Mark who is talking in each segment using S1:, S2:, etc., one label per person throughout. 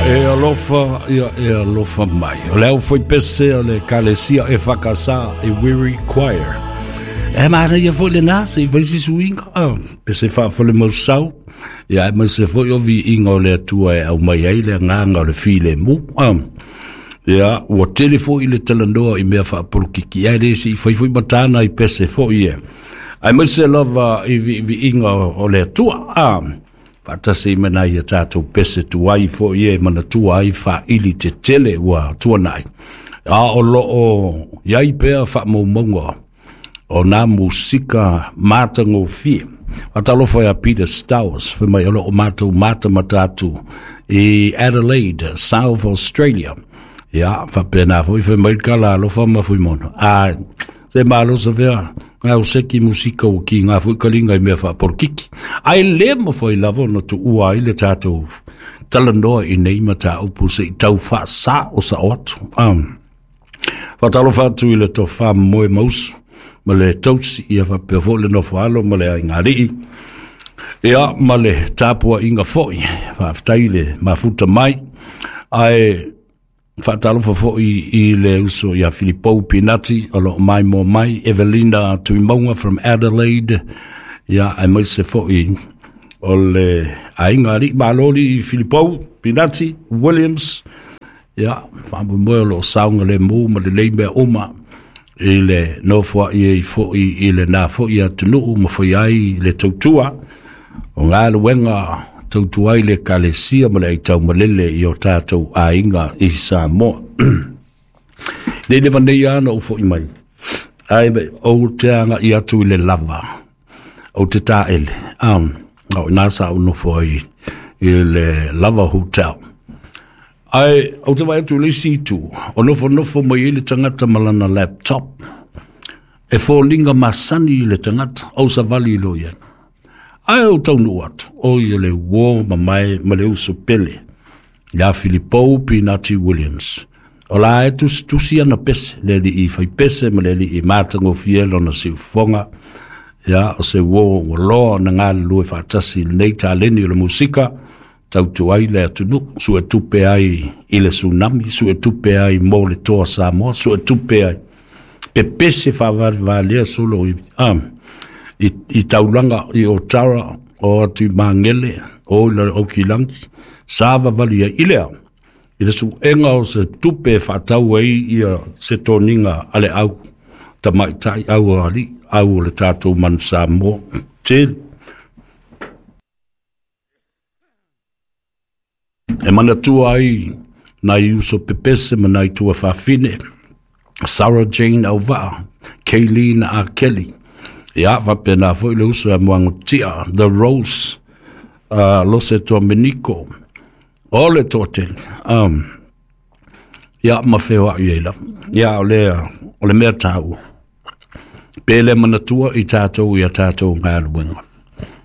S1: E alofa, ia e alofa mai. O le au foi pese o le Ekalesia EFKS e Weary Choir. E manaia foi lena, se i fai se suiga, ah, pese faafale mausau, ia aemaise foi o viiga o le Atua e aumai ai le agaga o le filemu. Ah, ia, ua tele foi le talanoa i mea faapolokiki, ae le se i fai foi matana i pese foi e. Aemaise lava i viiviiga o le Atua. Ah, faatasi ma nai a tatou pese tuai foi e manatua ai faaili tetele ua tuanai. A o loo i ai pea faamaumauga o nā musika matagofie. Faatalofa ia Peter Stowers, fai mai o loo matou matamata atu i Adelaide, South Australia. Ia, faapena foi fai mai le kala alofa ma Fuimaono. A se malo sa fea ngā o seki musika o ki ngā foi kalinga i mea faapolokiki. Ae le mafai lava ona tuua ai le tatou talanoa i nei mataupu se i tau faasao sao atu. Faatalofa atu i le tofa moe mausu ma le tausi ia faapea foi le nofo alo ma le aigalii. Ia ma le tapuaiga foi, faafetai le mafuta mai. Ae faatalofa foi i le uso ia Filipou Pinati o loo maimoa mai, Evelina Tuimauga from Adelaide, ia aemaise foi o le aiga alii maloli Filipou Pinati Williams. Ia, faamoemoe o loo saogalemu ma lelei mea uma i le nofoai ai foi i lena foi atunuu ma fai ai le tautua o galuega tautua ai le Ekalesia ma le aitaumalele i o tatou aiga i Samoa. Nei leva nei lava na ou foi mai, ae ou te agai atu i le lava, ou te taele, o ina sa ou nofo ai i le Lava Hotel. Ae ou te vaai atu i le isi itu, o nofonofo mai ai le tagata ma lana laptop, e foliga masani i le tagata, ou savali loa i ai. Ae ou taunuu atu, o ia le uo mamae ma le uso pele, ia Filipou Pinati Williams. O la e tusitusi ana pese, le alii fai pese ma le alii matagofie lona siufofoga. Ia, o se uo ua loa ona galulue faatasi i lenei taleni o le musika, tautu ai le atunuu, suetupe ai i le tsunami, suetupe ai mo le toa Samoa, suetupe ai pepese faavalevalea solo i, i taulaga i Otara, o atu i Magele, o i le Aukilagi, sa vavali ai i lea, i le suega o se tupe e faatau ai ia se toniga a le au tamaitai, au o alii, au o le tatou manu Samoa. Tele. E manatua ai nai uso pepese ma nai tuafafine, Sarah Jane Auvaa, Kayleen A. Kelly, ia faapena foi le uso ia Moagotia, The Rose, Lose Domenico, o le toatele, ia ma feoai ai lava. Ia o le, o le mea taua, pe le manatua i tatou i a tatou galuega.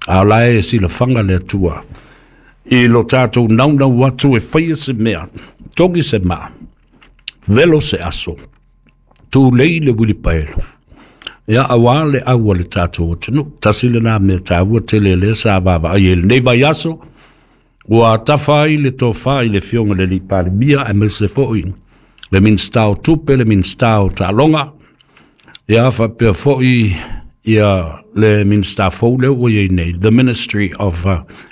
S1: A o la e silafaga le Atua i lo tatou naunau atu e faia se mea, togi se maa, velo se aso, tulei le uilipaelo. Ia, auā le au a le tatou atunuu. Tasi lena mea taua tele lea sa vaavaai ai i lenei vaiaso, ua tafa ai le tofa i le Afioga i le alii Palemia, aemaise foi le Minisita o Tupe, le Minisita o Taaloga, ia faapea foi ia le Minisita fou lea ua i ai nei, the Ministry of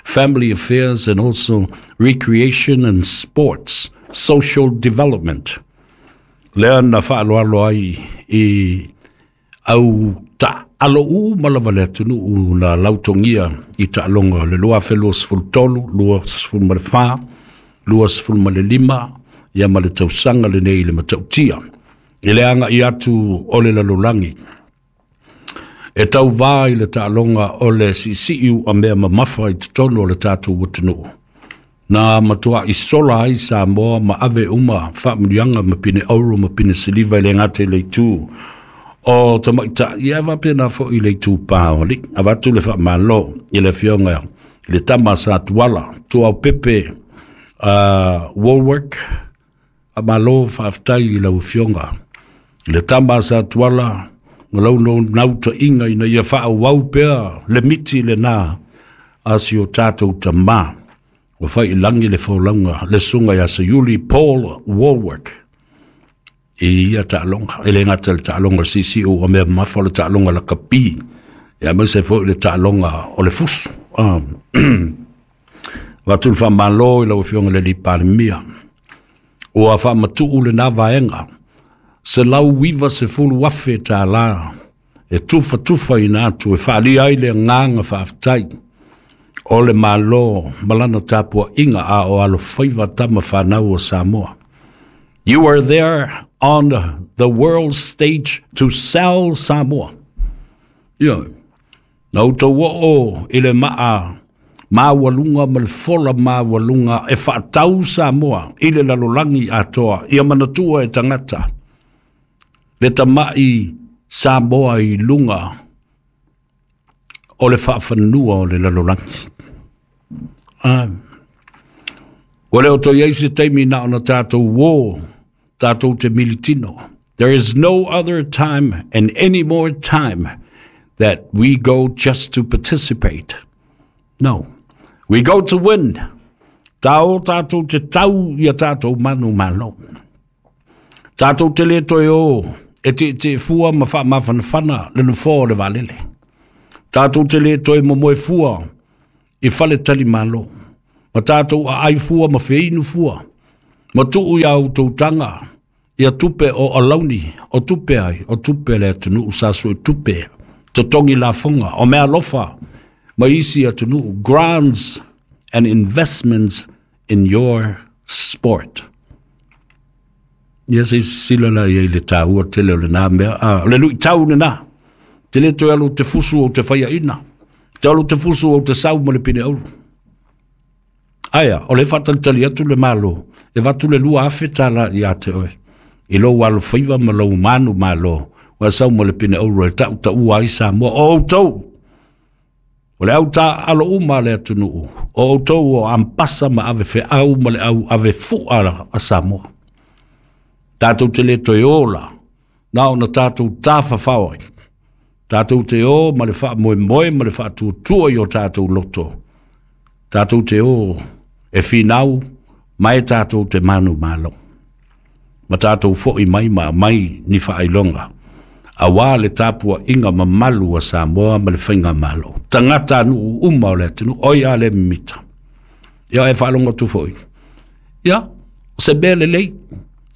S1: Family Affairs and also Recreation and Sports, Social Development. Lea na faaaloalo ai i au taalo uma lava le atunuu na lautogia i taaloga o le 2023, 24, 25, ia ma le tausaga lenei i le matautia. I le agai atu o le lalolagi, e tauvā i le taaloga o le siisii uamea mamafa i totonu o le tatou atunuu. Na matuai sola ai Samoa ma ave uma faamanuiaga ma pine auro ma pine siliva e le gata i le itu o tamaitai, ia faapena foi i le itu pā o alii. Avatu le faamalo i le Afioga i le tama sa Tuala, Tuaopepe Woolwork, faamalo faafetai i lau Afioga i le tama sa Tuala ma lau nautaiga ina ia faaauau pea le miti lena a si o tatou tamā. Ua fai i lagi le folauga le susuga ia Seiuli Paul Wallwork i ia taaloga. E le gata i le taaloga o le siisii ua mea mamafa o le taaloga lakapi, aemaise foi le taaloga o le fusu. Avatu le faamalo i lau Afioga i le alii Palemia, ua faamatuu lena vaega $190,000 e tufatufaina atu e faaalia ai le agaga faafetai o le Malo ma lana tapuaiga a o alofaiva tama fanau a Samoa. You are there on the world stage to sell Samoa. Ioe. Na outou oo i le maa maualuga ma le fola maualuga e faatau Samoa i le lalolagi atoa, ia manatua e tagata le tamai Samoa i luga o le faafanua o le lalolagi. Ua le o toe i ai se taimi na ona tatou o tatou te militino. There is no other time and any more time that we go just to participate. No. We go to win. Ta o tatou te tau ia tatou manu malo. Tatou te le toe o e te fua ma faamafanafana le nofoa o le vaalele. Tatou te le toe momoe fua i fale tali malo. Ma tatou aai fua ma feinu fua. Ma tuu ia outou taga ia tupe o alauni, o tupe ai, o tupe le atunuu sa sue tupe, totogi lafoga, o mea alofa ma isi atunuu, grants and investments in your sport. Ia se i sisila la i ai le taua tele o lena mea. O le luitau lena. Te le toe alu te fusu o te faiaina. Te alu te fusu o te sau ma le pine auru. Aia, o le faatalitali atu le Malo, e avatu le $2,000 ia te oe, i lou alofaiva ma lou manu malo, ua sau ma le pine auro e tautaua ai Samoa. O outou, o le au taaalo uma a le atunuu, o outou o ampasa ma ave feau ma le au ave fua a Samoa. Tatou te le toe ola, na ona tatou tafafao ai. Tatou te o ma le faamoemoe ma le faatuatua i o tatou loto. Tatou te o e finau ma e tatou te manu malo. Ma tatou foi mai ma aumai ni faailoga aua le tapuaiga mamalu a Samoa ma le faigamalo. Tagata nuu uma o le atunuu, oi a le mimita. Ia e faalogo atu foi. Ia, se mea lelei,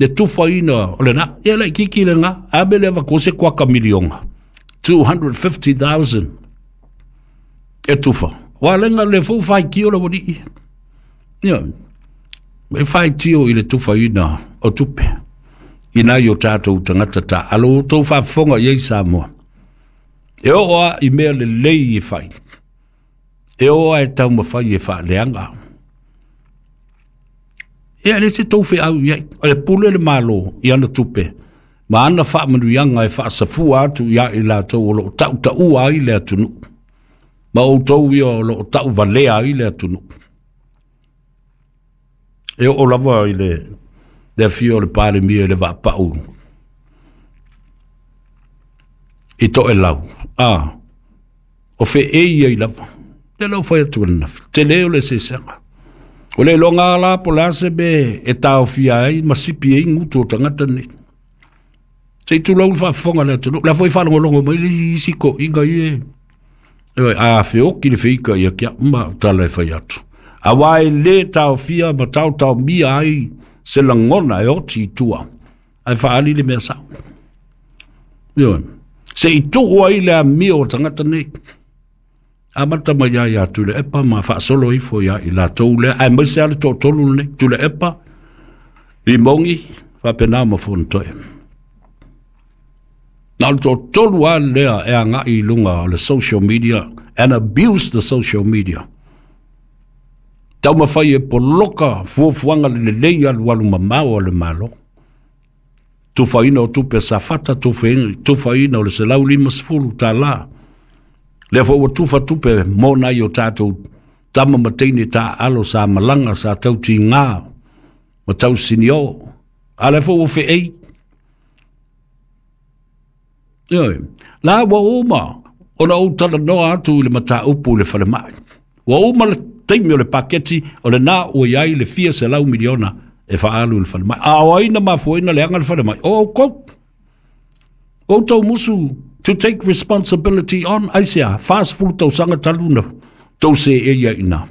S1: le tufaina o lena, ia laitiiti lena, a mea le avatua se kuaka miliona, 250,000 e tufa. Ua lenga le fou faitio le walii. Ia, e faitio i le tufaina o tupe. I nai o tatou tagata taaalo, outou faafofoga i ai Samoa. E oo lava i mea lelei e fai, e oo lava e taumafai e faaleaga. Ia, e le se tou feau i ai. O le pule le Malo i ana tupe ma ana faamanuiaga e faasafua atu ia i latou o lo o tautaua ai le atunuu, ma outou ia o lo o tauvalea ai le atunuu. E oo lava i le afio o le Palemia i le vaapau i Toelau, o feei ai lava. Lea la ua fai atu ananafi, tele o le eseesega. O le iloga la po o le a se mea e taofia ai ma sipi ai gutu o tagata nei. Se i tulou le faafofoga a le atunuu. O la foi e faalogologo mai le isi toeaiina ia e, a feoti le feita ia te au ma o tala e fai atu. Aua e le taofia ma taotaomia ai se lagona e oti i tua, ae faaali le mea sao. Ioe. Se i tuu ai le amio o tagata nei. Amata mai ia ia Tuilaepa ma faasolo ifo ia i latou lea, aemaise lava le toatolu lenei, Tuilaepa, Limogi, faapena ma Fonotoe. Na o le toatolu lava lea e agai i luga o le social media and abuse the social media. Taumafai e poloka fuafuaga lelei alualu mamao a le Malo. Tufaina o tupe a Safata, tufaina o le $150. Lea foi ua tufa tupe mo nai o tatou tama ma teine taaalo sa malaga, sa tautiga ma tausinio. A lea foi ua feei. Ioe, la ua uma ona ou talanoa atu i le mataupu i le falemai. Ua uma le taimi. taimi o le paketi, o lena ua i ai le fia $100 miliona e faaalu i le falemai. A o ai na mafuaina leaga le falemai? O outou. O outou musu to take responsibility on. Aisea? 40 tausaga talu na tou seei ai i ina.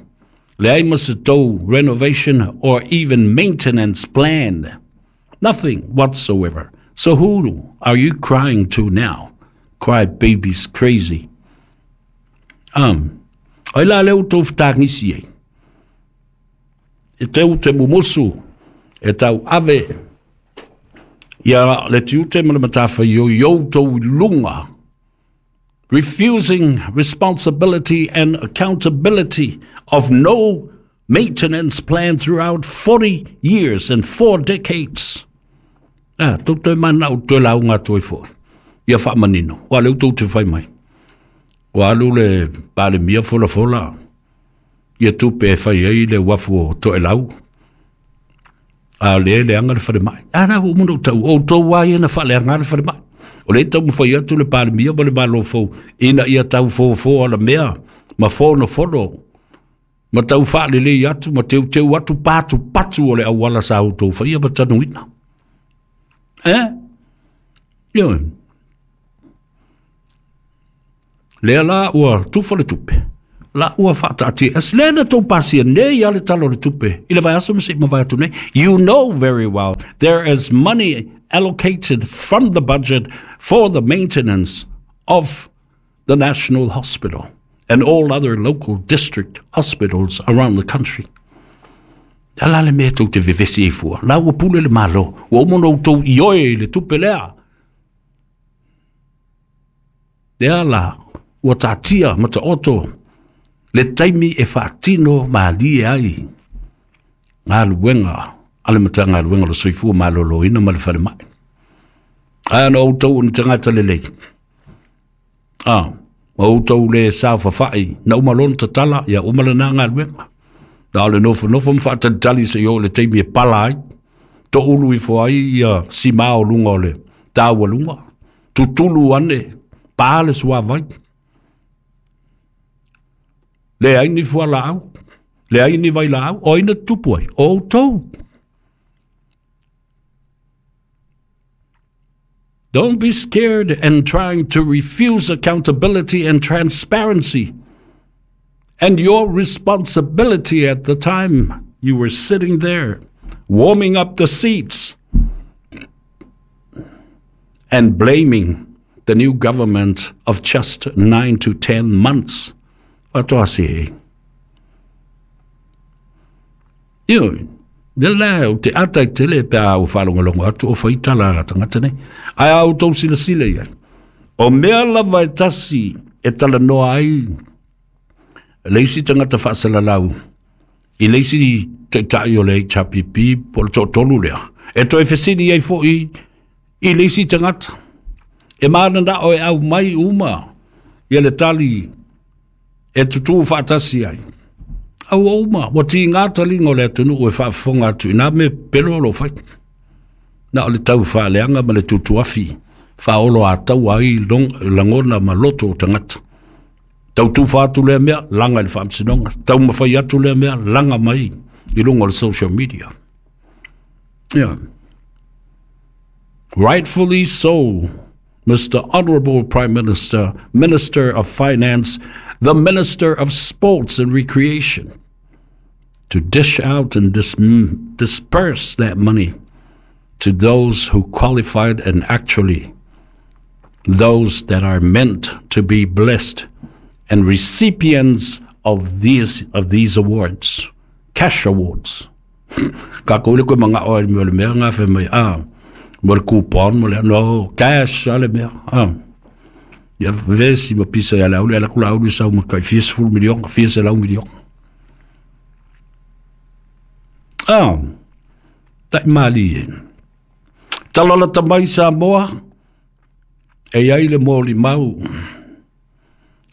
S1: Leai ma se tou renovation or even maintenance plan. Nothing whatsoever. So who are you crying to now? Cry babies crazy. Ai la lea ua tou fetagisi ai. E teu te mumusu e tau ave ia le tiute ma le matafaioi i outou i luga. Refusing responsibility and accountability of no maintenance plan throughout 40 years and 4 decades. Ah, tou toe manao toe lauga atu ai foi. Ia faamanino. Ua leu tou te fai mai. Ua alu le Palemia folafola ia tupe e fai ai le uafu o Toelau. A o lea e leaga le falemai. A na ua uma ona ou tau, o outou lava ia na faaleaga le falemai. O lea e taumafai atu le Palemia ma le Malo fou ina ia tau fofo alamea ma fonofono ma tau faalelei atu ma teuteu atu patupatu o le auala sa outou faia ma tanuina. Eh? Ioe. Lea la ua tufa le tupe, la ua faataatia ese. Lea na tou pasia nei lava le Tala o le Tupe i le vaiaso ma se i mavae atu nei. You know very well there is money allocated from the budget for the maintenance of the National Hospital and all other local district hospitals around the country. A la le mea tou te vevesi ai fua. La ua pule le Malo. Ua uma ona outou ioe i le tupe lea. Lea la, ua taatia ma taoto le taimi e faatino malie ai galuega a le Matagaluega o le Soifua Maloloina ma le Falemai. Ae ona outou o ni tagata lelei. Ah, ma outou le saofafai, na uma loa ona tatala, ia uma lena galuega. Na o le nofonofo ma faatalitali seia oo i le taimi e pala ai, toulu ifo ai ia sima o luga o le taualuga, tutulu ane, pa le suavai. Leai ni fualaau, leai ni vailaau, o ai na tutupu ai? O outou. Don't be scared and trying to refuse accountability and transparency and your responsibility at the time you were sitting there warming up the seats and blaming the new government of just 9 to 10 months. Faatoa se e. Ioe, le la o te ata i tele pe a ua faalogologo atu o fai tala a tagata nei. Ae a outou silasila i ai, o mea lava e tasi e talanoa ai le isi tagata faasalalau i le isi taitai o le HRPP po o le toatolu lea, e toe fesili ai foi i le isi tagata. E mananao e aumai uma ia le tali e tutū faatasi ai. A ua uma, ua tiga taliga o le atunuu e faafofoga atu i nā mea pepelo o lo o fai. Na o le tau faaleaga ma le tutuafi faaoloataua ai lagona ma loto o tagata. Tau tufa atu lea mea, laga i le faamasinoga. Taumafai atu lea mea, laga mai i luga o le social media. Yeah. Rightfully so, Mr. Honorable Prime Minister, Minister of Finance, the Minister of Sports and Recreation, to dish out and disperse that money to those who qualified and actually those that are meant to be blessed and recipients of these, of these awards, cash awards. Ka kou le koe mangao ai mo le mea ngā whai mai, ah, mo le coupon, mo le, no, cash a le mea, ah. Ia vesi ma pisa ia le auli, ala kula auli sau ma kai fia sefulu miliona, fia selau miliona. Ah, tai mali e. Talalata mai Samoa, e i ai le molimau,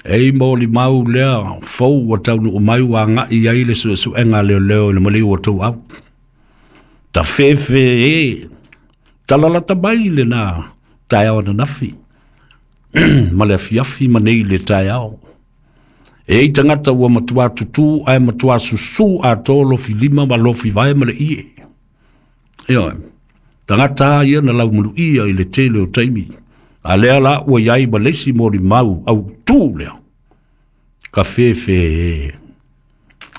S1: e i molimau lea fou ua taunuu mai ua agai ai le suesuega a leoleo i le maliu o tou au. Tafefe e, talalata mai lena taeao ananafi ma le afiafi ma nei le taeao. E i ai tagata ua matuā tutū ae matuā susū atoa lofi lima ma lofi vae ma le ie. Ioe. Tagata a ia na laumaluia i le tele o taimi. A lea la ua i ai ma le isi molimau autū lea. Ka fefe e.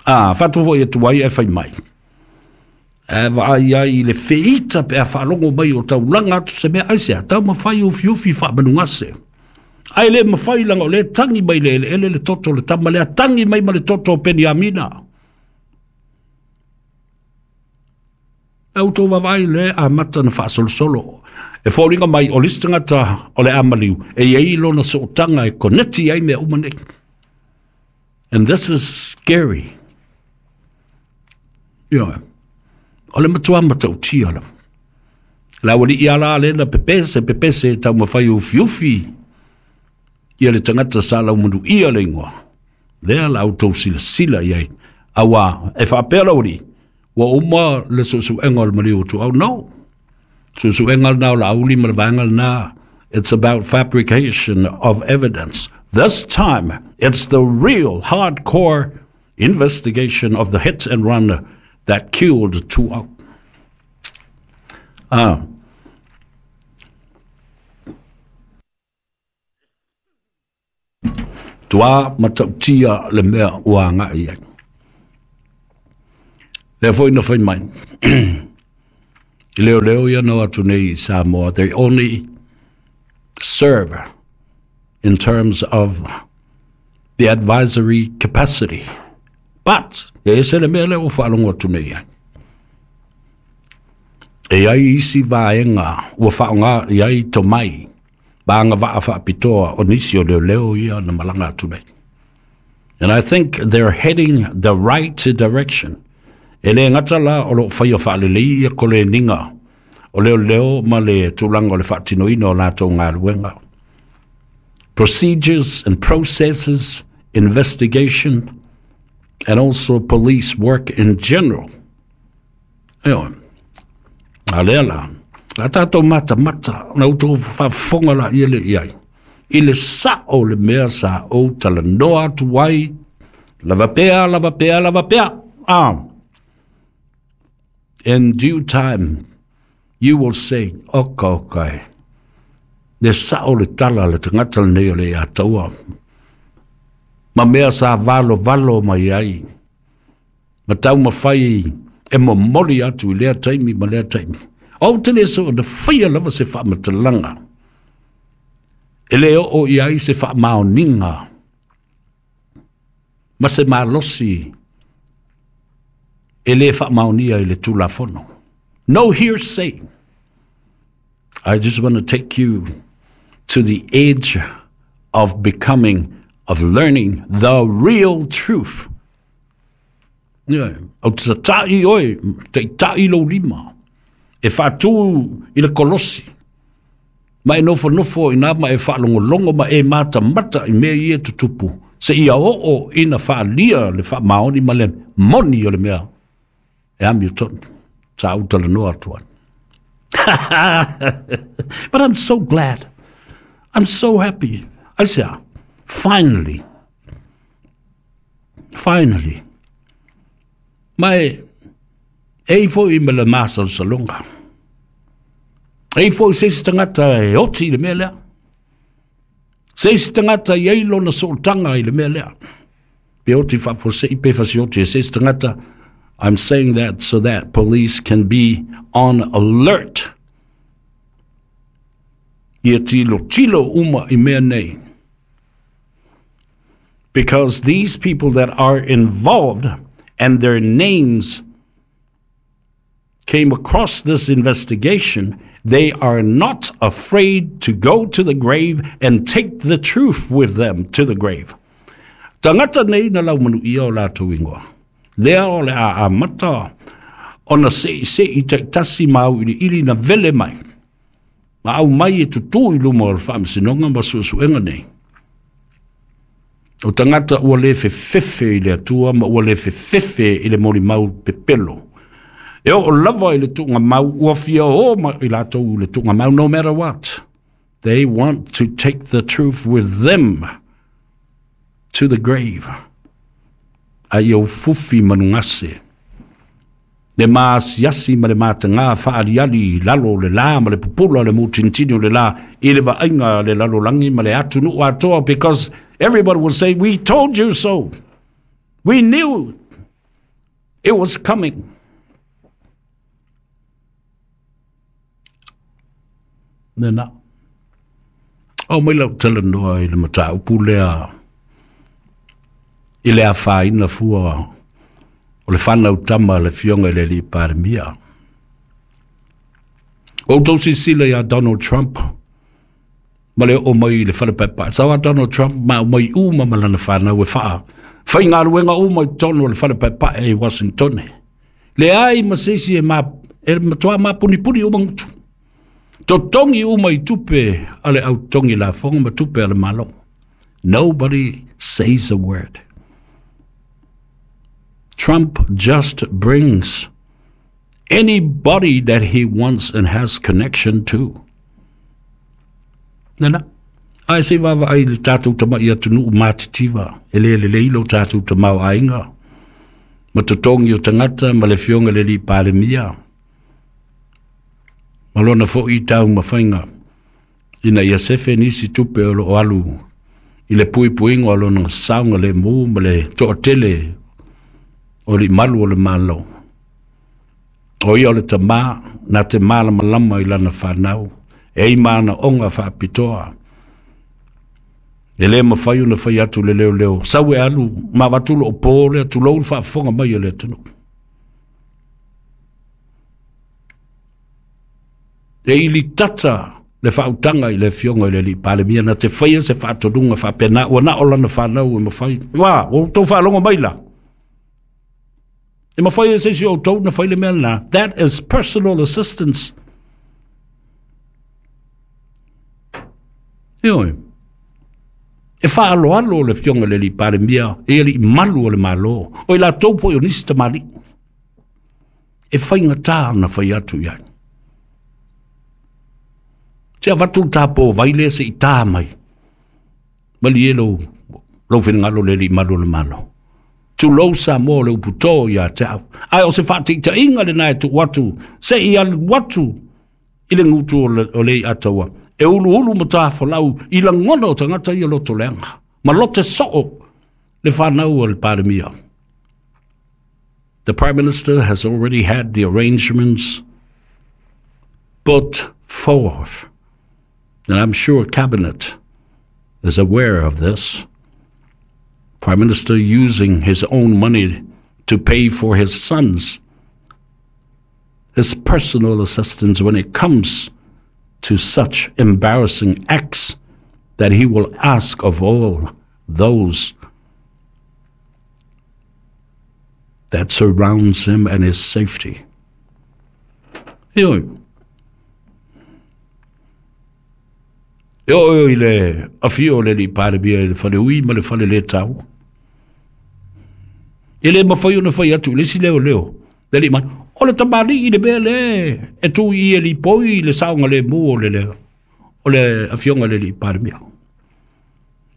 S1: A, faatu foi atu ai ae fai mai. Ae vaai ai i le feita pe a faalogo mai o taulaga atu se mea aisea, taumafai ufiufi faamanugase. Ae le mafai leaga o lea e tagi mai le eleele le toto o le tama lea, tagi mai ma le toto o Peniamina. A outou vaavaai lea e amata ona faasolosolo. E foliga mai o le isi tagata o le a maliu, e i ai lona sootaga e koneti ai mea uma nei. And this is scary. Ioe. O le matua matautia lava. Le aualii lava la lea na pepese, pepese e taumafai e ufiufi ia le tagata sa laumanuia le igoa. Lea la outou silasila i ai. Auā, e faapea le aualii, ua uma le suesuega o le maliu o Tuau. No. Suesuega lena o Laauli ma le vaega lena. It's about fabrication of evidence. This time, it's the real hardcore investigation of the hit and run that killed Tuau. Ah. Tuā matautia le mea ua agai i ai. Lea foi na fai mai. I leoleo ia na o atu nei i Samoa, they only serve in terms of the advisory capacity. But, e ese le mea lea ua faalogo atu nei ai. E i ai isi vaega ua faaaoga i ai tomai ma agavaa faapitoa o nisi o leoleo ia na malaga atu nei. And I think they're heading the right direction. E le gata la o lo o faia faalelei ia koleniga o leoleo ma le tulaga o le faatinoina o latou galuega. Procedures and processes, investigation, and also police work in general. Ioe. A lea la, la tātou matamata, na outou faafofoga la ia le i ai. I le sao o le mea sa ou talanoa atu ai, lava pea, lava pea, lava pea. Ah. In due time, you will say, oka oka e. Le sao le tala le tagata lenei o le ia taua. Ma mea sa valo valo mai ai. Ma taumafai e momoli atu i lea taimi ma lea taimi. Ou te le so na faia lava se faamatalaga e le oo i ai se faamaoniga ma se malosi e le faamaonia i le Tulafono. No hearsay. I just want to take you to the edge of becoming, of learning the real truth. Ioe, ou te tatai oe, taitai lou lima, e faatū i le kolosi, ma e nofonofo i inā ma e faalogologo ma e matamata i mea ia e tutupu, seia oo ina faaalia le faamaoni ma le moni o le mea e amiotonu. Sa ou talanoa atu ai. But I'm so glad. I'm so happy. Aisea, finally, Finally. Ma e, e i foi ma le masalosaloga. E i foi se isi tagata e oti i le mea lea. Se isi tagata i ai lona sootaga i le mea lea. Pe oti faafuasei pe fasioti e se isi tagata. I'm saying that so that police can be on alert. Ia tilotilo uma i mea nei. Because these people that are involved and their names came across this investigation, they are not afraid to go to the grave and take the truth with them to the grave. Tagata nei na laumanuia o latou ingoa. Lea o le a amata ona seisei taitasi ma auiliili na vele mai. Ma aumai e tutū i luma o le Faamasinoga ma suesuega nei. O tagata ua le fefefe i le Atua ma ua le fefefe i le molimau pepelo. E oo lava i le tuugamau, ua fia o ma i latou i le tuugamau, no matter what. They want to take the truth with them. to the grave. A ia ufufi manugase le maasiasi ma le matagā faaaliali i lalo o le lā ma le pupula o le mutinitini o le lā i le vaaiga a le lalolagi ma le atunuu atoa, because everybody will say, "We told you so. We knew it was coming." Lena. Oo mai lau talanoa i le mataupu lea i le afaina fua o le fanau tama a le Afioga i le Alii Palemia. Ua outou silasila ia Donald Trump ma le oo mai i le fale paepae. Sau a Donald Trump ma aumai uma ma lana fanau e faa faigaluega uma i totonu o le fale paepae i Washingtone. Leai ma se isi e, ma, e matoa mapunipuni uma gutu. Totogi uma i tupe a le au totogi lafoga ma tupe a le Malo. Nobody says a word. Trump just brings anybody that he wants and has connection to. Nana, ae se i vaavaai i le tatou tama'i atunuu matitiva, e le lelei lo tatou tamaoaiga ma totogi o tagata ma le Afioga i le Alii Palemia ma lona foi taumafaiga ina ia sefe nisi tupe o loo alu i le puipuiga o lona saogalemu ma le toatele o alii malu o le Malo. O ia o le tamā na te malamalama i lana fanau, e ai manaoga faapitoa. E le mafai ona fai atu le leoleo, sau e alu ma avatu loo po lea, tulou le faafofoga mai a le atunuu. E ilitata le faautaga i le Afioga i le Alii Palemia na te faia se faatonuga faapena, ua na o lana fanau e mafai. Ua outou faalogo mai la. E mafai e se isi o outou na fai le mea lena. That is personal assistance. Ioe. E faaaloalo le Afioga i le Alii Palemia e alii malu o le Malo, o i latou foi o nisi tamalii. E faigata ona fai atu i ai. Se avatu le tapovai lea se i tā mai. Malie lou, lou finagalo le alii malu o le Malo. Tulou Samoa o le upu tō ia te au. Ae o se faataitaiga lena e tuu atu, se i alu atu i le gutu o le iataua. E uluulu ma tafolau i lagona o tagata ia loto leaga. Ma lote soo le fanau o le Palemia. The Prime Minister has already had the arrangements put forth. And I'm sure Cabinet is aware of this. Prime Minister using his own money to pay for his sons, his personal assistance when it comes to such embarrassing acts that he will ask of all those that surrounds him and his safety. Ioe. E oo i le afio o le Alii Palemia i le faleui ma le fale le tau. E le mafai ona fai atu i le isi leoleo, le alii mai, o le tamalii i le mea le e tu i e lipoi i le saogalemu o le leo, o le afioga i le Alii Palemia.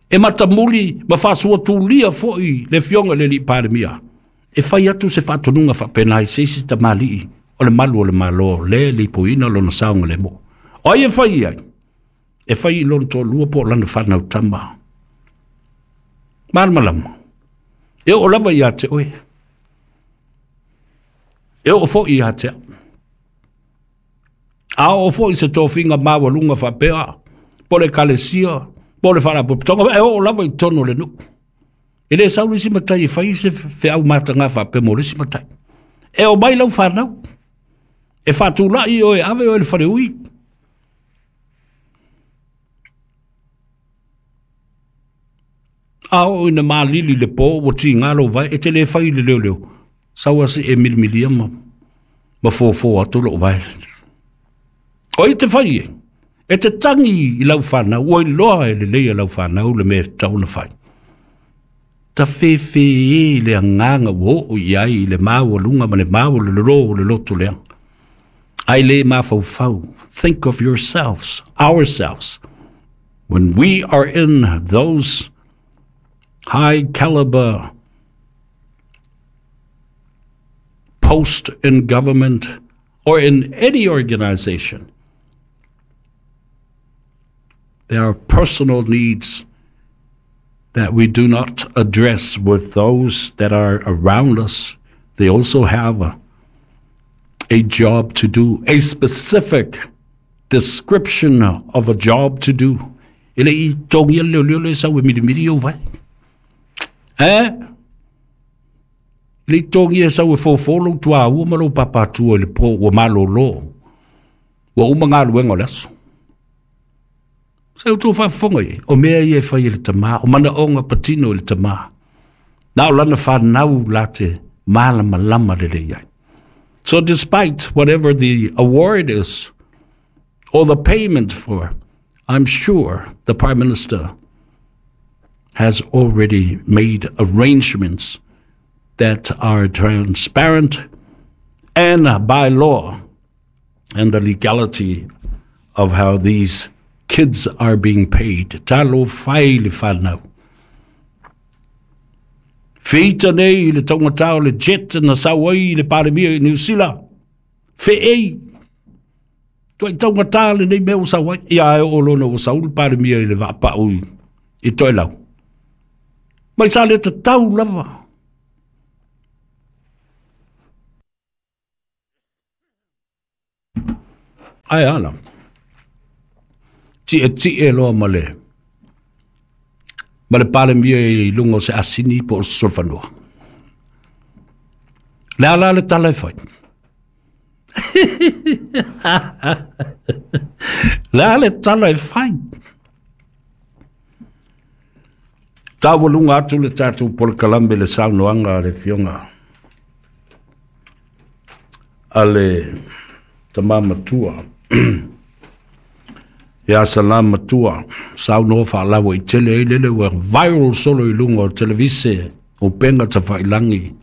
S1: E matamuli ma faasuatulia foi le afioga i le Alii Palemia e fai atu se faatonuga faapena i se isi tamalii o le malu o le Malo le lipoiina lona saogalemu. O ai e fai i ai? E fai i lona toalua po o lana fanau tama. Malamalama. E oo lava ia te oe. E oo foi ia te au. A oo foi se tofiga maualuga faapea, po o le ekalesia, po o le faalapotopotoga, e oo lava i totonu o le nuu. E le sau le isi matai e fai se feau mataga faapea mo le isi matai. E omai lau fanau, e faatulai oe, ave oe i le faleui. A oo ina malili le po ua tiga lou vae, e te le fai i le leoleo, sau lava se i e milimilia ma, ma fofo atu lou vae. O ai te fai e? E te tagi i lau fanau, ua iloa e lelei e lau fanau le mea e tatau ona fai. Ta fefe e le agaga ua oo i ai i le maualuga ma le maualololo o le loto leaga. Ai le mafaufau. Think of yourselves, ourselves. When we are in those high caliber post in government or in any organization, there are personal needs that we do not address with those that are around us. They also have a, a job to do, a specific description of a job to do. E le i tongi le leo le sau e miri miri o vai. Eh? Le i tongi e sau e fofolo tua ua ma lo papatua i le po ua malolo. Ua uma galuega o le aso. Se outou faafofoga i ai, o mea ia e fai e le tamā, o manaoga patino i le tamā. Na o lana fanau la te malamalama lelei ai. So despite whatever the award is, or the payment for, I'm sure the Prime Minister has already made arrangements that are transparent and by law and the legality of how these kids are being paid. Talo fai le whanau. Feita nei le taugata o le jet na sau ai le Palemia i Niu Sila. Feei. Tuai taugata lenei mea ua sau ai. Ia e oo loa ina ua sau le Palemia i le vaapau i Toelau. Mai sa le tatau lava. Ae a la. Tietie loa ma le ma le Palemia i luga o se asini po o se solofanua. Le a la le tala e fai? Le a le tala e fai? Taualuga atu le tatou polokalame le saunoaga a le Afioga a le tama matua ia Salā Matua, saunoa faalauaitele ai lele ua viral solo i luga o televise o upega tafailagi.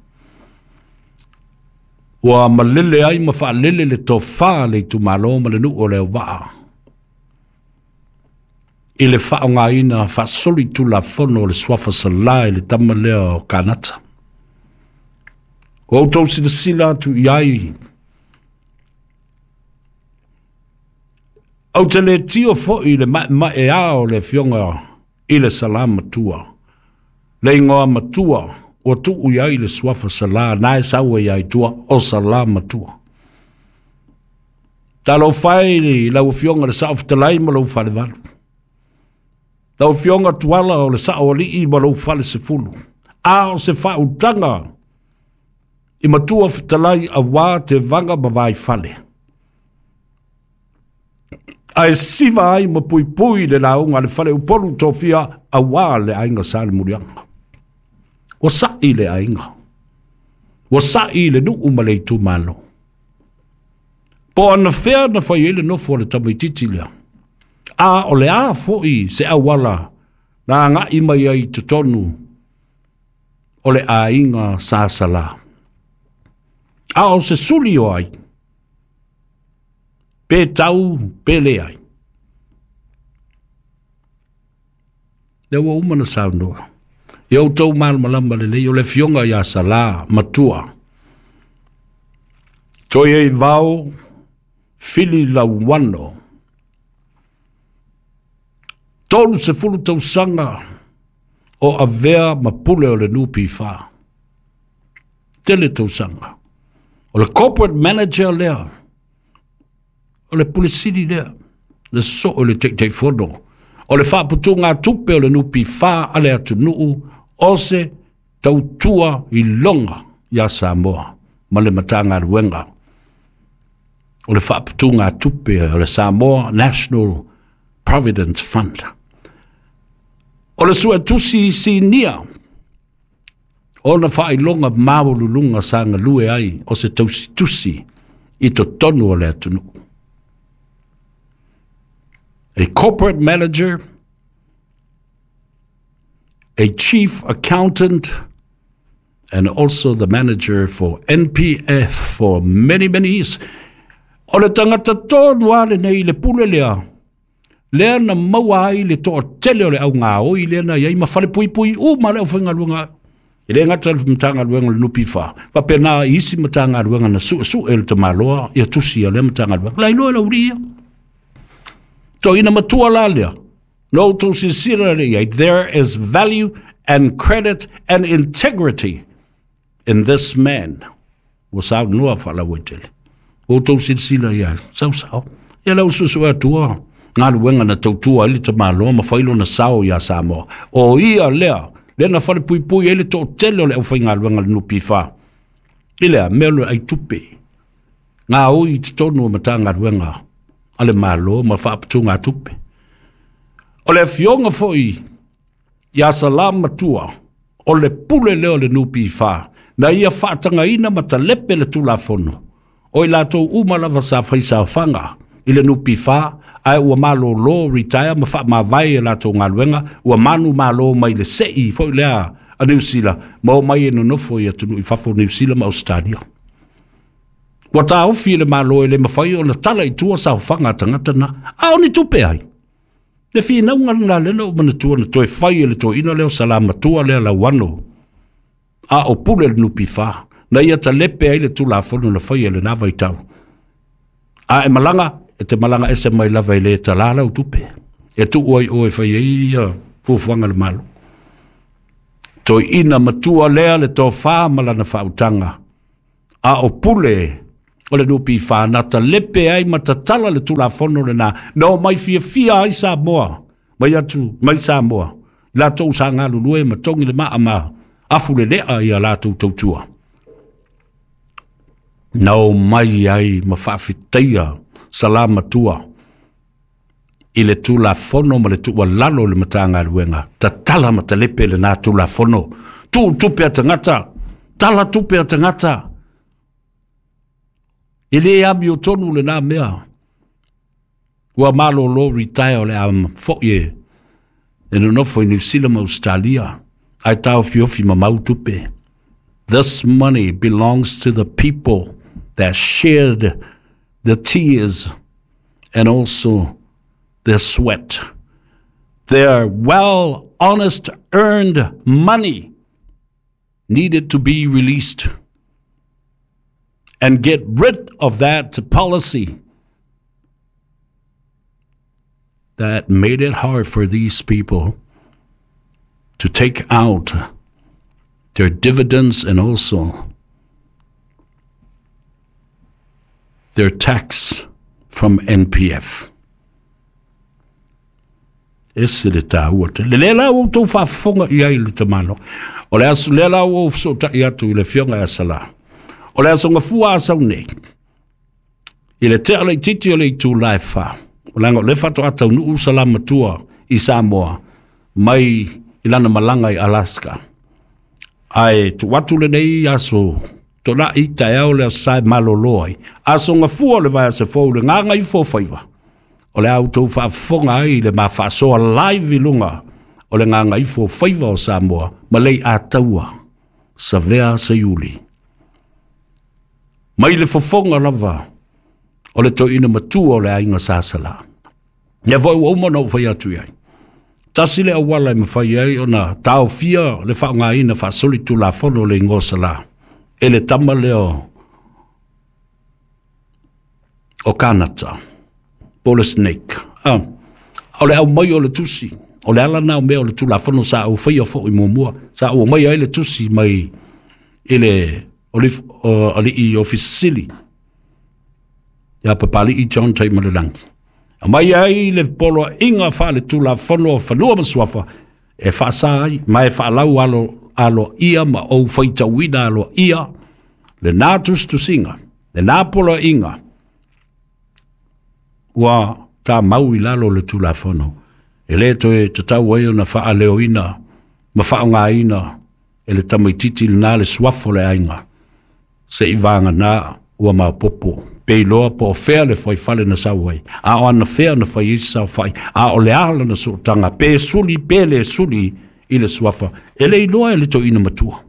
S1: Ua malele ai ma faalele le tofa a le itumalo ma le nuu o Leauvaa i le faaaogaina faasolitulafono o le suafa Salā i le tama lea o Kanata. Ua outou silasila atu i ai, ou te le tio foi i le maemaea o le afioga i le Salā Matua, le igoa matua ua tuu i ai le suafa Salā na e sau ai i tua o Salā Matua. Talofa e i lau Afioga i le Sao Fetalai ma lou falevalu. Lau Afioga Tuala o le Sao Alii ma lou fale sefulu. A o se faautaga i matua fetalai auā tevaga ma vaifale. Ae siva ai ma puipui le lauga a le fale Upolu tofia auā le aiga Salemuliaga. Ua sa'i le aiga. Ua sa'i le nuu ma le itumalo. Po o anafea na fai ai le nofo a le tamaitiiti lea? A o le a foi se auala na agai mai ai i totonu o le aiga Sa Salā? A o se suli o ai? Pe tau, pe leai. Lea ua uma na saunoa. Ia outou malamalama lelei, o le afioga ia Salā Matua. Toieivao Fili Lauano. 30 tausaga o avea ma pule o le NPF. Tele tausaga. O le corporate manager lea. O le Pule Sili lea, le soo i le Taitaifono o le Faaputugatupe o le NPF a le atunuu o se tautua iloga ia Samoa ma le Matagaluega o le Faaputugatupe o le Samoa National Provident Fund. O le Suetusi Sinia ona faailoga maualuluga sa galue ai o se tausitusi i totonu o le atunuu. A corporate manager, a chief accountant, and also the manager for NPF for many, many years. O le tangata tonu lava lenei i le pule lea, Lea na maua ai le toatele o le augaoi lea na i ai ma falepuipui uma le aufaigaluega. E le gata i le Matagaluega o le NPF, faapena i isi Matagaluega na suesue e le tamaloa ia tusi a lea Matagaluega. La iloa e le aualii ia. Toeaina matua la lea, na outou silasila lea i ai, there is value and credit and integrity in this man. Ua saunoa faalauaitele. Ua outou silasila i ai, sausao. Ia lea ua suesue atua galuega na tautua ai le tamaloa ma fai lona sao iā Samoa. O ia lea, lea na falepuipui ai le toatele o le aufaigaluega a le NPF. I lea mea o le aitupe, gaoi i totonu o Matagaluega a le Malo ma faaputugatupe. O le afioga foi ia Salamatua, o le pule lea o le NPF, na ia faatagaina ma talepe le Tulafono, o i latou uma lava sa faisaofaga i le NPF, ae ua malolo retire ma faamavae i latou galuega, ua manumalo mai le sei foi lea a Niu Sila, ma omai e nonofo i atunuu i fafo o Niu Sila ma Ausetalia. Ua taofi e le Malo e le mafai ona tala i tua saofaga a tagata na, a o ni tupe ai? Le finauga lena lea na ou manatua na toe fai e le toeaina lea o Salamatua lea Lauano, a o pule le NPF, na ia talepe ai le Tulafono na faia i lena vaitau. A e malaga, e te malaga ese mai lava e le talā lau tupe, e tuu ai oe e fai ai ia fuafuaga a le Malo. Toeaina matua lea le tofa ma lana faautaga, a o pule o le NPF na talepe ai ma tatala le Tulafono lena, na omai fiafia ai Samoa, mai atu mai Samoa, i latou sa galulue ma togi le maa ma afulelea ia latou tautua. Na omai ai ma faafetaia Salamatua i le Tulafono ma le tuualalo i le Matagaluega, tatala ma talepe lena Tulafono, tuu tupe a tagata, tala tupe a tagata. E le amiotonu lena mea. Ua malolo retire o le a foi e nonofo i Niu Sila ma Australia, ae taofiofi mamau tupe. This money belongs to the people that shared the tears and also their sweat. Their well, honest, earned money needed to be released and get rid of that policy that made it hard for these people to take out their dividends and also their tax from NPF. Ese le taua tele. Le la ua outou faafofoga i ai i le tamaloa. O le aso lea la ua ou fesootai atu i le afioga ia Sala. O le aso gafua a sau nei, i le tea laitiiti o le itula e 4, leaga o lea faatoa taunuu Salamatua i Samoa mai i lana malaga i Alaska. Ae tuu atu lenei aso tona'i taeao le aso Sa e malolo ai. Aso gafua o le vaiaso fou i le gagaifo o faiva. O le a outou faafofoga ai i le ma faasoa live i luga o le gagaifo o faiva o Samoa ma lei ataua Savea Seiuli. Mai le fofoga lava o le toeaina matua o le aiga Sasala. Ia foi ua uma ona ou fai atu i ai. Tasi le auala e mafai ai ona taofia le faaaogaina faasolitulafono o le igoa Sala e le tama lea o Kanata, po o le Snake. Ah, o le aumai o le tusi, o le ala na o mea o le Tulafono sa ou faia foi muamua, sa ou aumaia ai le tusi mai i le alii Ofisa Sili ia Papali'i John Taimalelagi. Aumai ai le poloaiga faale-tulafono o Fanua ma Suafa e faasa ai ma e faalau alo aloaia ma ou faitauina aloaia lena tusitusiga, lena poloaiga ua tamau i lalo o le Tulafono. E le toe tatau ai ona faaleoina ma faaaogaina e le tamaitiiti lena le suafa o le aiga, se'i vagana ua maopoopo pe iloa po o fea le fuaifale na sau ai, a o ana fea na fai ai se saofai, a o le a lana sootaga, pe suli pe le suli i le suafa, e le iloa e le toeaina matua.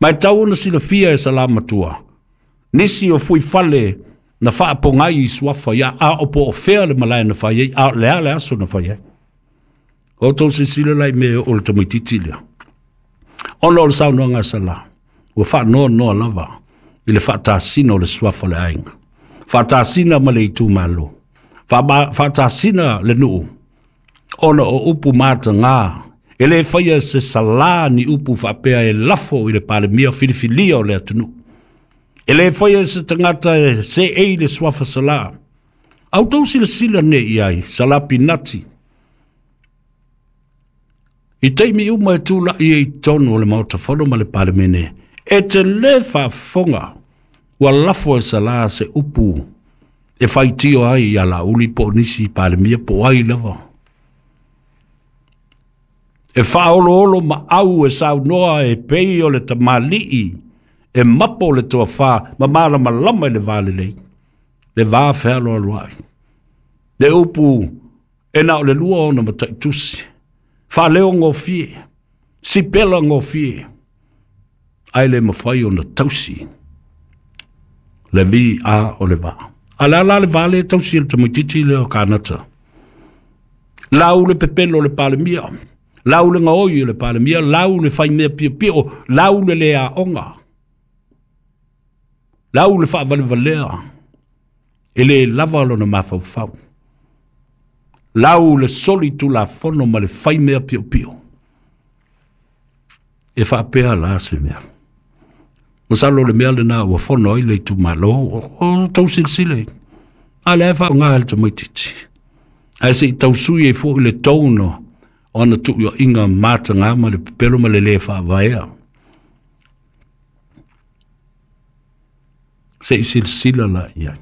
S1: Ma e tau ona silafia e Salamatua, nisi o fuifale Na faapogai i suafa ia a o po o fea le malae na fai ai, a o le a le aso na fai ai. O outou silasila la i mea e oo i le tamaitiiti lea. Ona o le saunoaga a Sala, ua faanoanoa lava i le faatasina o le suafa o le aiga, faatasina ma le itumalo, faatasina le nuu, ona o upu mataga. E le faia se Sala ni upu faapea e lafo i le Palemia filifilia o le atunuu. E le faia se tagata e seei le suafa Sala. A outou silasila nei i ai, Sala Pinati, i taimi uma e tulai ai i totonu o le Maota Fono ma le Palemene, e te le faafofoga ua lafo e Sala se upu e faitio ai ia Laauli po o nisi Palemia po o ai lava. E faaoloolo maau e saunoa e pei o le tamalii e mapo le toafa ma malamalama i le va lelei, le va fealoaloai. Le upu e na o le lua ona mataitusi, faaleogofie, sipela gofie, ae le mafai ona tausi le vi a o le va. A le ala le va le tausi e le tamaitiiti lea o Kanata. Lau le pepelo o le Palemia, lau le gaoi o le Palemia, lau le faimea piopio, lau le le aoga, lau le faavalevalea, e le lava lona mafaufau. Lau le soli tulafono ma le faimea piopio. E faapea la se mea. Masalo le mea lena ua fono ai le itumalo, o tou silasila i. A lea e faaaoga e le tamaitiiti. Ae se i tausui ai foi le tone o ana tuuaiga mataga ma le pepelo ma le le faavaea. Se i silasila la i ai.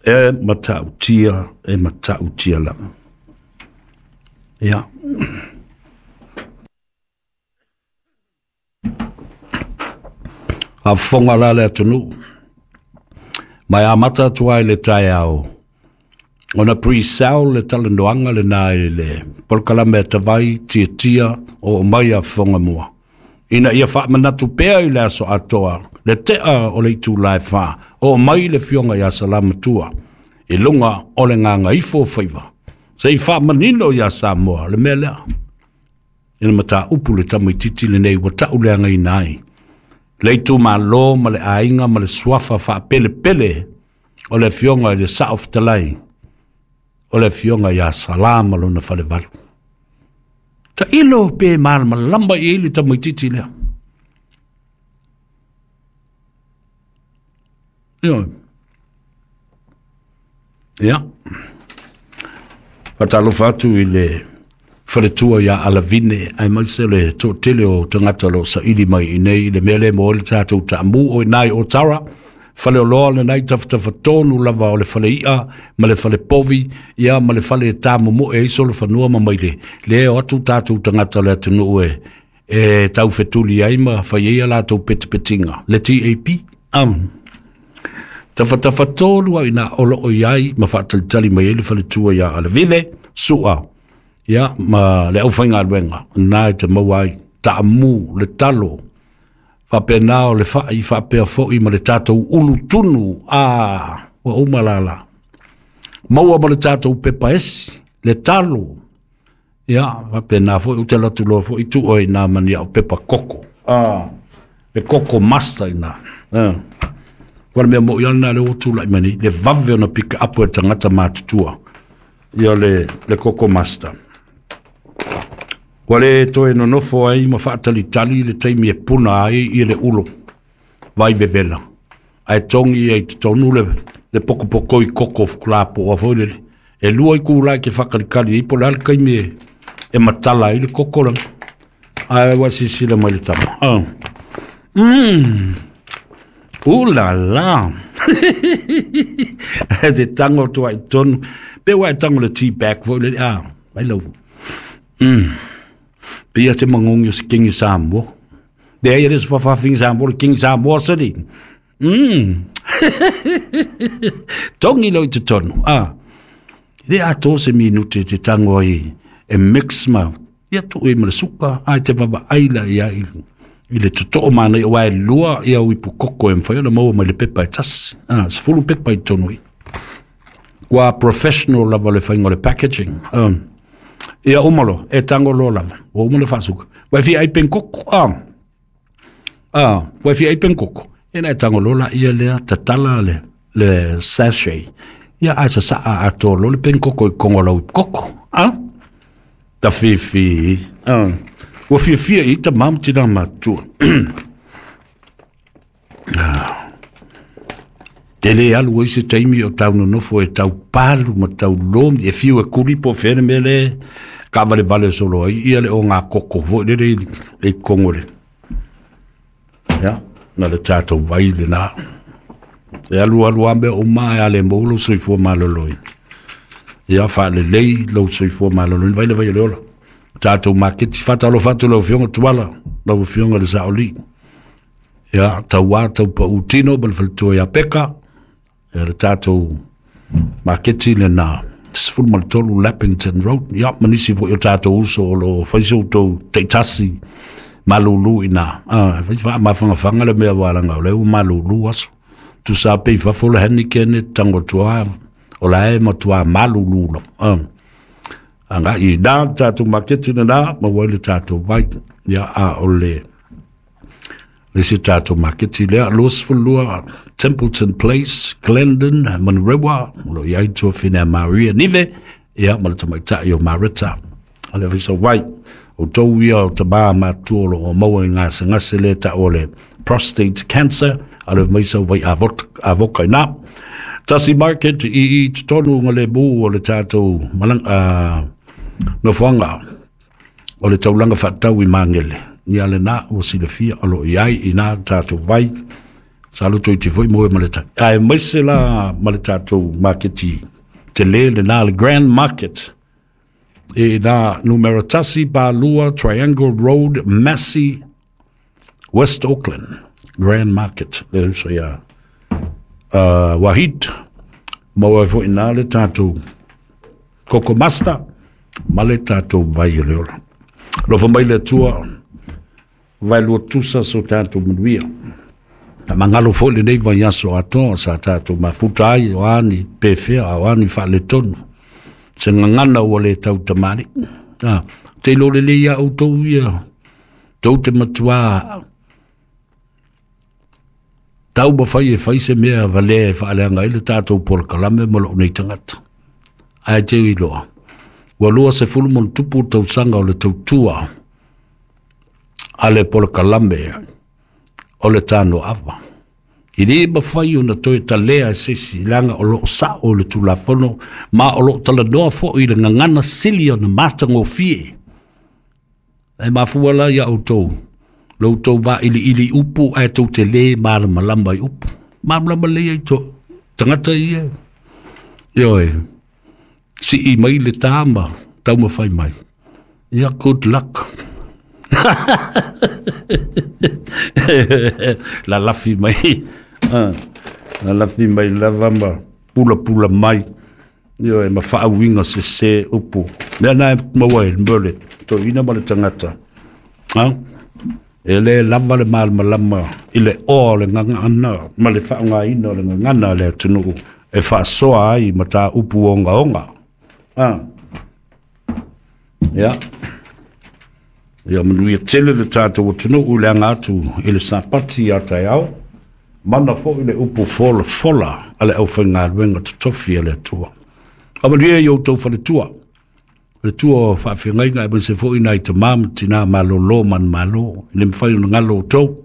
S1: E matautia, e matautia lava. Ia. Faafofoga la le atunuu, ma e amata atu ai le taeao, ona pre-sell le talanoaga lena i le polokalame a Tavai Tiatia o mai a fofoga mua, ina ia faamanatu pea i le aso atoa, le tea o le itula e 4, o mai le fioga ia Salamatua, i luga o le gagaifo o faiva, se i faamanino ia Samoa le mea lea. Ina mataupu le tamaitiiti lenei ua tauleagaina ai le itumalo ma le aiga ma le suafa faapelepele o le afioga i le Sao Fetalai, o le afioga ia Sala ma lona falevalu. Tailo pe malamalama i ai le tamaitiiti lea. Ia. Faatalofa atu i le faletua ia Alavine, aemaise le toatele o tagata o lo o saili mai i nei i le mea lea mo le tatou taamu o i nai o Tara, faleoloa lenai tafatafatonu lava o le faleia ma le falepovi, ia ma le fale tamomoe ai solofanua ma maile. Le o atu tatou tagata o le atunuu e taufetuli ai ma fai ai a latou petipetiga, le TAP. Tafatafatolu au ina o loo i ai ma faatalitali mai ai le faletua ia Alavine, Sua, ia ma le aufaigaluega, na e te maua ai taamu le talo, faapena o le fai, faapea foi ma le tatou ulu tunu, a ua uma lala. Maua ma le tatou pepa esi, le talo, ia faapena foi ou te alu atu loa foi tuu ai nā mani au pepa koko. Le koko master ina. Ua le mea mo i ana le o tulai mai nei, le vave ona pick up e tagata matutua. Ia le koko master. Ua le toe nonofo ai ma faatalitali le taimi e puna ai i le ulo, vai vevela. Ae tongi ai totonu le pokopoko i koko fukulapoa foi lele. E lua i kūlai ke whakalikali i po le taimi e matala ai le koko langa. Ae ua silasila mai le tama. Ula la. Te tango tua i tonu. Pe ua e tango le tea bag foi lele. Mai lau. Pe ia te mangongi o se Kingi Samoa. Le ai le se whawhawhingi Samoa, le Kingi Samoa sari. Tongi lau i te tonu. Le ato se minute te tango ai e mix ma. Ia tu e ma le suka. Ai te wawa ai la ia i I le totoo manaia aua e lua ia uipu koko e mafai ona maua mai le pepa e tasi. 10 pepa i totonu i. Ua professional lava le faiga o le packaging. Ia uma loa, e tago loa lava. Ua uma ona faasuka. Ua e fia ai penkoko. Ua e fia ai penkoko. Ia na e tago loa la ia lea tatala le sachet. Ia ae sasaa atoa loa le penkoko i kogo o lau koko. Tafifi. Ua fiafia i tamā ma tinā matutua. E le alu ai se taimi o tau nonofo e tau palu ma tau lomi e fiu e kuli po o fea le mea le kaavalevale solo ai ia le o ngā koko foi lele i kogo le. Ia, na le tatou vai lena. E alu alu a mea uma e a le maua lou soifua maloloina. Ia, faalelei lou soifua maloloina, vai le vai o le ola. Tatou maketi, faatalofa atu lau Afioga Tuala, lau Afioga i le Saolii. Ia, tauā taupau tino ma le faletua ia Peka. Ia, le tatou maketi lena, 13 Lappington Road. Ia, ma nisi foi o tatou uso o lo o fai so outou taitasi malulu i ina. Fai faamafagafaga le mea walaga o lea ua malulu aso. Tusa pe i fafo le Heineken e tango atu o la e matua malulu lava. Agai i ina le tatou maketi lena, maua ai le tatou vai. Ia, a o le isi tatou maketi lea, 22 Templeton Place, Glendon, Manurewa, o lo o i ai tuafine a Maria Nive, ia, ma le tamaitai o Marita. O le fai vai, o tou ia o tamā matua o lo o maua i gasegase lea ta'u o le prostate cancer, a le mai sau vai avoka ina. Tasi market i totonu nga le mu o le tatou malang, nofoaga o le taulaga faatau i Magele. Ia lena ua silafia o lo o i ai i na tatou vai. Sa loto i te foi moe ma le tai. Ae maise la ma le tatou maketi tele lena le Grand Market. E na numera 1 ba 2 Triangle Road, Massey, West Auckland. Grand Market. Le uso ia Wahid. Maua ai foi na le tatou Koko Master ma le tatou vai o le ola. Alofa mai le Atua, vai lua tusa so tatou manuia. Ta mangalo foi lenei vaiaso atoa sa tatou mafuta ai o ani pefea o ani faaletonu. Se gagana ua le tautamalii. Te iloa lelei ia outou ia, tou te matuā taumafai e fai se mea valea e faaleaga ai le tatou polokalame ma lou nei tagata. Ae te iloa, ua 20 ma ona tupu tausaga o le tautua a le polokalame o le Tanoava. I le mafai ona toe talea e se isi, leaga o loo sao le Tulafono ma o loo talanoa foi i le gagana sili ona matagofie. E mafua la ia outou, lo outou vailiili upu ae tou te lē malamalama i upu. Malamalama lelei ai to tagata ia. Ioe, sii mai le tā ma taumafai mai. Ia, good luck. Lalafi mai. Lalafi mai lava ma pulapula mai. Ioe, ma faauiga sese upu. Mea na e maua ai mo le toeaina ma le tagata. E le lava le malamalama i le oa o le gagana ma le faaaogaina o le gagana a le atunuu e faasoa ai ma mataupu ogaoga. Ia, ia manuia tele le tatou atunuu i le aga atu i le Sapati ia taeao. Mana foi le upu folafola a le aufaigaluega totofi a le Atua. Faamanuia i outou faletua. Le tua o faafeagaiga aemaise foi nai tamā ma tinā malōlō manumalo. E le mafai ona galo outou.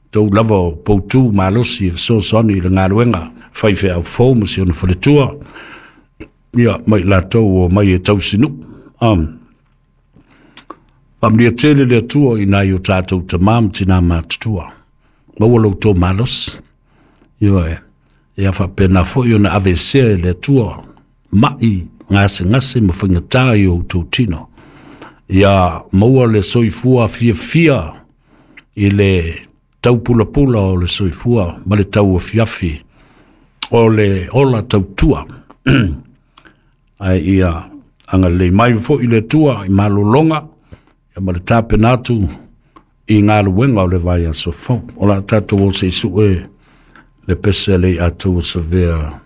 S1: Outou lava o poutu malosi e fesoasoani i le galuega faifeau fou ma si ona faletua. Ia, mai latou o mai e tausinuu. Faamanuia tele le Atua i nai o tatou tamā ma tinā matutua. Maua lo outou malosi. Ioe, ia faapena foi ona aveesea e le Atua mai gasegase ma faigatā i o outou tino. Ia maua le soifua fiafia i le taupulapula o le soifua ma le tauafiafi o le ola tautua. Ae ia agalelei mai foi le Atua i malologa ia ma le tapena atu. i galuega o le vaiaso fou. O le a tatou o se i sue le pese a le Atua Savea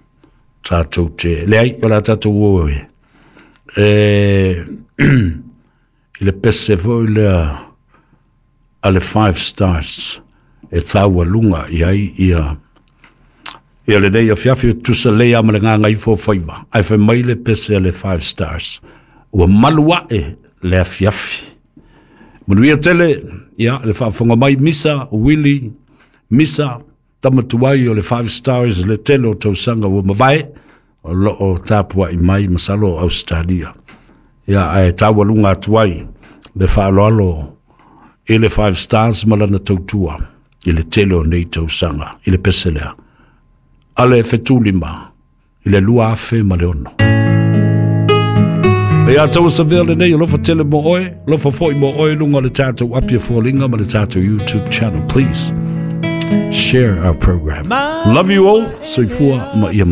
S1: tatou te leai, o le a tatou o e i le pese foi lea a le Five Stars e taualuga i ai ia lenei afiafi, e tutusa lelei lava ma le Gagaifomauga 5, ae fai mai le pese a le Five Stars, ua malu ae le afiafi. Manuia tele ia le faafofoga mai Misa Wili Misa, tama tuai o le Five Stars i le tele o tausaga ua mavae, o lo o tapuai mai masalo o Ausetalia. Ia, ae taualuga atu ai le faaaloalo i le Five Stars ma lana tautua i le tele o nei tausaga i le pese lea a le Fetulima i le 2006. Ia tau savea lenei, alofa tele mo oe, alofa foi mo oe lunga o le tatou Apia Foliga ma le tatou YouTube channel. Please share our program. Love you all. Soifua ma ia.